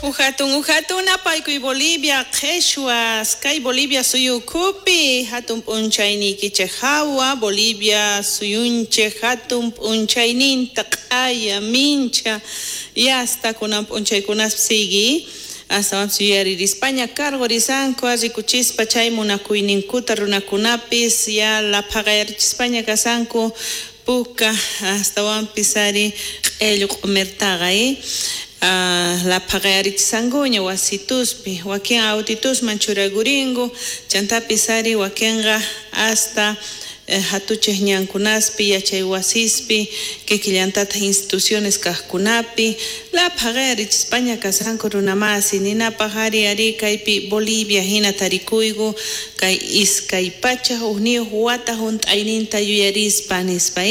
Uhatun uhatun napaykuy Bolivia qheshwas kay Bolivia suyu ukhupi hatun p'unchayniykichej hawa Bolivia suyunchej hatun p'unchayninta q'aya mincha yasta kunan p'unchaykunaspi sigui astawanpis yuyaririspaña cargorisanku rikuchispa chay munakuyninkuta runakunapis ya laphaqayarichispaña kasanku puka astawanpis ari q'ellu q'umirtaqa laphaqayarichisankuña wasituspi wakin autitusman churakurinku chantapis ari wakinqa hasta hatuchej ñankunaspi yachay wasispi kikillantataq instituciones kaqkunapi laphaqayarichispaña kasanku runamasi ninapaq ari ari kaypi Bolivia hina tarikuyku kay 201 wata hunt'ayninta yuyarispa nispa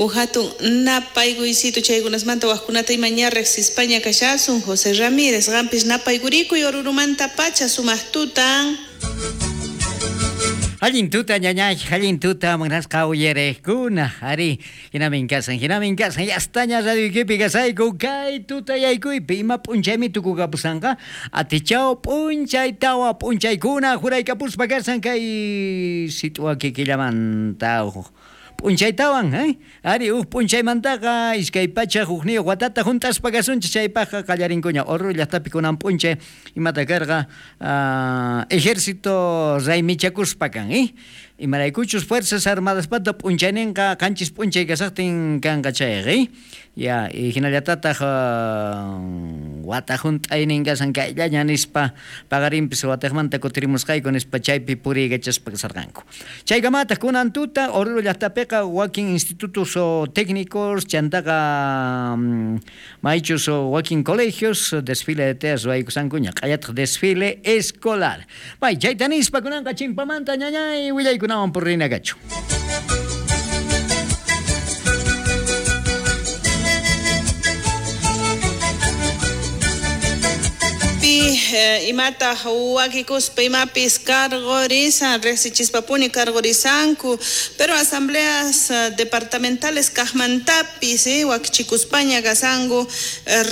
uj hatun napaykuysitu chaykunasmanta wajkunata ima ña riqsispaña kashasun José Ramírez qampis napaykurikuy Orurumanta pacha sumaq tutan. Allin tuta ñañay, allin tuta munasqa uyariqkuna, ari hinamin kasan, hinamin kasan, yastaña radioykipi kasayku kay tutayaykuypi ima p'unchaymi tukukapusanqa atichaw p'unchay tawa p'unchaykuna juraykapuspa kasan kay sit'wa kikillamanta p'unchaytawan, ari uj p'unchaymantaqa 201 watata hunt'aspa kasunchik chaypaqqa qallarinkuña Oruro llaqtapi kunan p'unchay imata karqa ejército raymichakuspa kan, imaraykuchus Fuerzas Armadaspata p'unchayninqa 7 p'unchay kasaqtin kanqa chayqa, ya hinallatataq wata hunt'aynin kasan kayllaña nispa paqarinpis wataqmanta kutirimusqayku nispa chaypi puriykachaspa kasarqanku. Chaykamataq kunan tuta Oruro llaqtapiqa wakin institutos técnicos chantaqa maychus wakin colegios desfile de teas ruwaykusankuña q'ayataq desfile escolar. May chayta nispa kunanqa chimpamanta ñañay willaykunawan purina kachu. Imataq wakikuspa imapis cargorisan riqsichispapuni cargorisanku pero asambleas departamentales kaqmantapis wakichikuspaña kasanku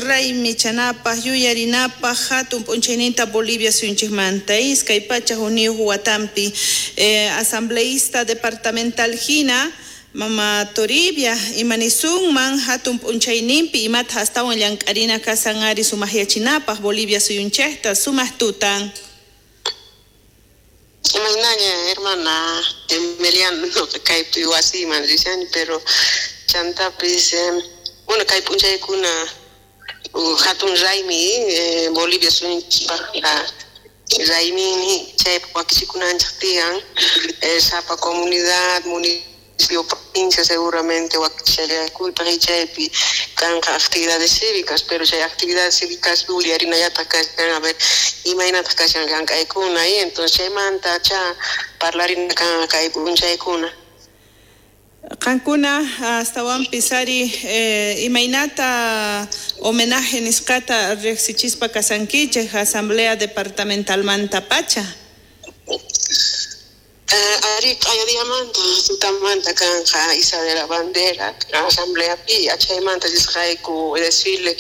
raymichanapaq yuyarinapaq hatun p'unchayninta Bolivia suyunchikmanta 201 watampi asambleísta departamental hina Mama Toribia imanisunman hatun p'unchayninpi imata astawan llank'arina kasan ari sumaq yachinapaq Bolivia suyunchikta sumaq tutan. Imaynaña hermana Emiliano kaypi wasiman rishani pero chantapis bueno kay p'unchaykuna hatun raymi Bolivia suyunchikpaqqa raymini chaypaq wakichikunanchik tiyan sapa comunidad municipio provincia seguramente wakichallaykultaq chaypi kanqa actividades cívicas pero chay actividades cívicas uyarinallataq kashan a ver imaynataq kashan llank'aykuna y entonces chaymanta cha parlarina kanqa kay p'unchaykuna. Qankuna astawanpis ari imaynata homenaje nisqata riqsichispa kasankichik asamblea departamentalmanta pacha. Ari q'ayadiamanta tutamanta kanqa Isa de la Bandera asamblea pi achaymanta risqayku desfile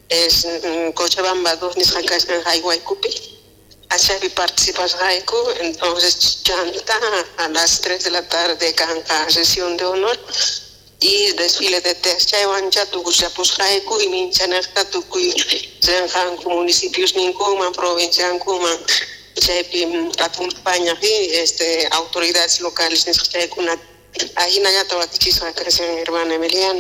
es Cochabamba 2 nisqa kashan haywaykupi achaypi participasqayku entonces chanta a las 3 de la tarde kanqa sesión de honor y desfile de teas chaywancha tukuchapusqayku y minchanaqta tukuy rinqanku municipios ninkuman provinciankuman chaypi acompaña autoridades locales nisqa chaykuna ahinallata wakichisqa kashan hermana Emiliana.